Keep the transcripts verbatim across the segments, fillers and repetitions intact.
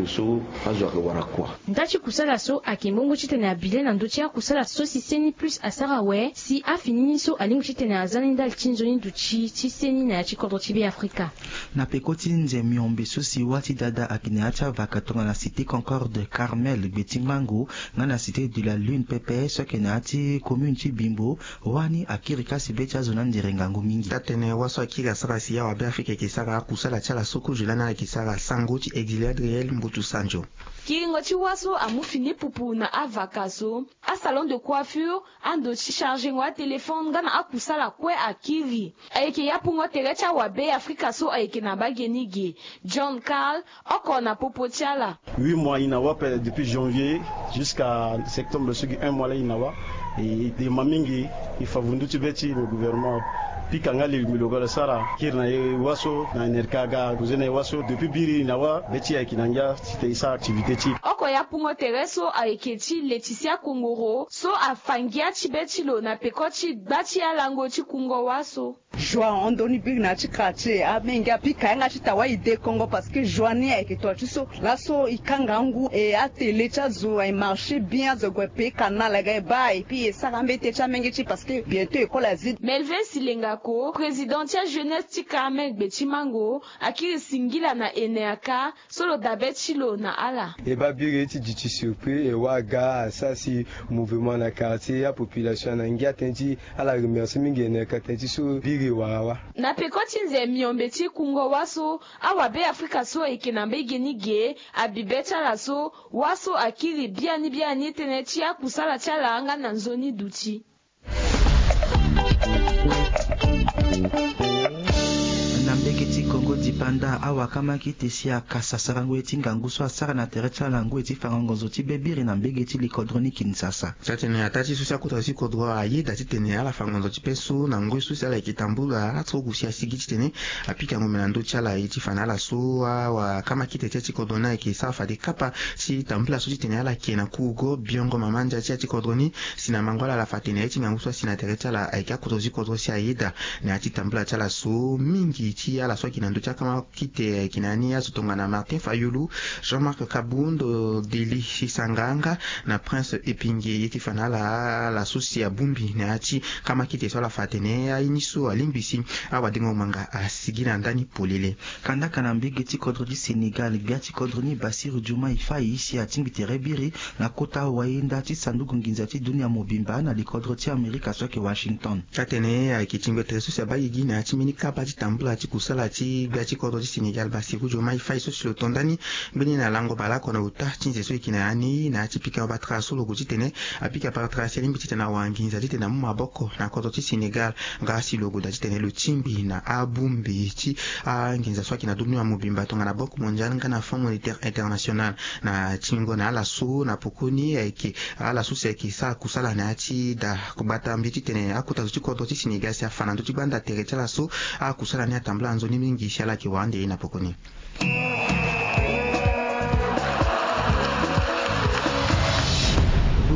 So azo ayeke wara kua. Nda ti kusala so ayeke mbongo titene abi le na ndö ti akusala so si seni plus asara awe si afini ni so alingbi titene aza ni ndali ti nzoni duti ti seni na ya ti kodro ti be afrika. Na peko ti nze miombe so si wâ ti dada ayeke na ya ti avaka tongana cité concorde carmel gbe ti mango, nga na cité de la lune pepe so ayeke na ya ti commune ti bimbo. Wani akiri kasi be ti azo na ndere ngangu mingi. Taa-tënë wâ so akiri asara si awabe afrika ayeke sara akusala ti ala so kozo lani ala yeke sara sango ti exilé adriel mbutu sanjo. Kiringo ti wâ so amu fini pupu na avaka so, asalon de coiffure, ando ti chargengo atelefone nga na akusala kue akiri. Ayeke yapungo tere ti awabe afrika so ayeke na bage ni ge. John carl, oko na popo ti ala. Huit mois ina wa pe depuis janvier jusqu'à septembre so gi un mois la ina wa. E de ma mingi. E fa vundu ti be ti le gouvernement pika nga lili mbi lo ga lo sara kiri na e wa so na nerka ga koze na e wa so depuis biri ina wa be ti ayeke na ngia ti te e sara activité ti e. Oko ya pungo tere so ayeke ti letisia kongoro so afa ngia ti be ti lo na peko ti gba ti alango ti kungo wa so. Joie hon doni biri na ya ti quartier amenge apika yanga ti tawa ide kongo parce que joie ni ayeke to ya ti so laso ikanga ngu e atele ti azo aye marché bien azo ague pe canal aga e baa et puis e sara ambete ti amenge ti parce que bientot école azi. Melvin silengako président ti ajeunesse ti carmel gbe ti mango akiri singila na enerka so lo dabe ti lo na ala. E baa biri ti duti surpris e wara ga asara si mouvement na quartier apopulation na ngia tënë ti ala remercie mingi enerka tënë ti so biri e wara wa. Na peko ti nze miombe ti kungo wâ so awabe afrika so ayeke na mbege ni ge abi be ti ala so wâ so akiri biani biani tënë ti akusala ti ala nga na nzoni duti. Na mbege ti kongo dipanda awakamaki te si akasa sarango ye ti ngangu so asara na tere ti ala ngoi ti fango ngonzo ti be biri na mbege ti likodro ni kinsasa. Taa-tënë ataa ti so si akota zo ti kodro ayeda titene ala fa ngonzo ti pe so na ngoi so si ala yeke tambula aturugu si asigi titene apika ngombe na ndö ti ala ye ti fa na ala so awakamaki te ti ya ti kodro ni ayeke sara fade kapa ti tambula so titene ala yeke na kurugo biongo mama ndia ti ya ti kodro ni. Si na mango ala ala fa tene ye ti ngangu so asi na tere ti ala ayeke akota zo ti kodro si ayeda na ya ti tambula ti ala so mingi ti ala so ayeke na ndö ti akama kite ayeke na ya ni azo tongana martin fayulu, jean marc kabundo deli sisanga nga na prince epinge ye ti fa na ala ala so si abongbi na ya ti kama kite so ala fa atene aye ni so alingbi si awadengo manga asigi na ndani polele. Kandaka na mbege ti kodro ti sénégal gbia ti kodro ni basir diouma ifai si atingbi tere biri na kota wayenda ti sanduku nginza ti dunia mobimba na likodro ti amerika so ayeke washington. Atene ayeke tingbi tere so si abaa gigi na ya ti mbeni kapa ti tambula ti kusala ti gbia ti kodro ti sénégal basir diouma ifai so si lo to ndani mbeni na lango baleoko na ota ti nze so e yeke na ya ni na ya ti pika batara so lo gue titene apika batara si alingbi titene awa nginza titene amu maboko na kodro ti sénégal. Nga si lo gue daa titene lo tingbi na abongbi ti anginza so ayeke na dunia mobimba tongana banque mondiale nga na fonds monétaire international na tingo na ala so na pokoni ayeke ala so si ayeke sara kusala na ya ti daa gbata mbi titene akota zo ti kodro ti sénégal si afa na ndö ti gbanda tere ti ala so akusala ni atambula nzoni mingi si ala yeke wara ande ye na pokoni.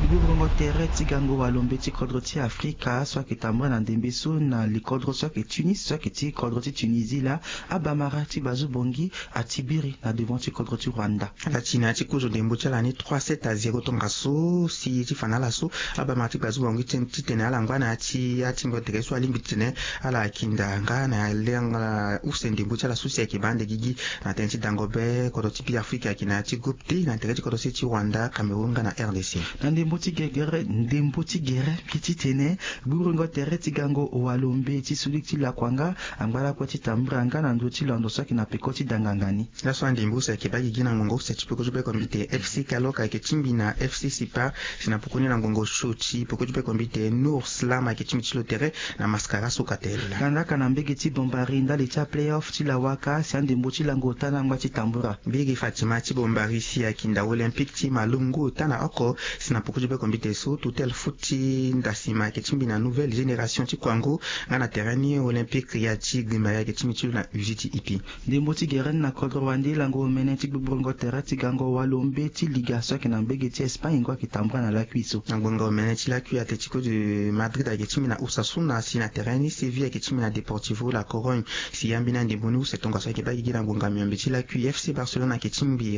Gbugburu tere ti gango walombe ti kodro ti afrika so ayeke tambula na ndembe so na likodro so ayeke tunis so ayeke ti kodro ti tunisie laa abamara ti bazu bongi ati biri na devant ti kodro ti rwanda. Ala ti na ya ti kozo ndembo ti ala ni trois sept à zéro tongaso si ti fa na ala so abamara ti bazu bongi titene ala ngba na ya ti atingo tere so alingbi titene ala kinda nga na lenga use ndembo ti ala so si ayeke baa ande gigi na tënë ti dango be kodro ti be afrika ayeke na ya ti groupe te na tere ti kodro se ti rwanda cameroun nga na rdc. Na ndembo ti gegere ndembo ti gere mbi titene gburengo tere ti gango walombe ti sulik ti lakua nga angba lakue ti tambira nga na ndö ti londo so ayeke na peko ti danganga ni. Laso andembo use ayeke baa gigi na ngongo use ti peko ti be kombi te fc kalok ayeke tingbi na fc sipa si na pokoni na ngongo so ti peko ti be kombi te nour slam ayeke tingbi ti lo tere na maskara so ka tele. Kandaka na mbege ti bombari ndali ti aplayoff ti lawaka si andembo ti lango ota na angba ti tambura. Mbege fatima ti bombari si ayeke nda olympique ti malongo ota na oko si na poko ti be kombi te so tutel foot ti ndasima ayeke tingbi na nouvelle génération ti kuango nga na terrain ni olympique ya ti gbimba ya ayeke tingbi ti lo na uzi ti ipi. Ndembo ti gere ni na kodro wande lango omene ti gbogborongo tere ti gango walo mbe ti liga so ayeke na mbege ti espagne ngo ayeke tambura na lakui so. Na ngbonga omene ti lakui atletico de madrid ayeke tingbi na osasuna si na terrain ni seville ayeke tingbi na deportivo la corogne. Si ya mbeni andembo ni use tongaso ayeke baa gigi na ngbonga miombe ti lakui fc barcelone ayeke tingbi.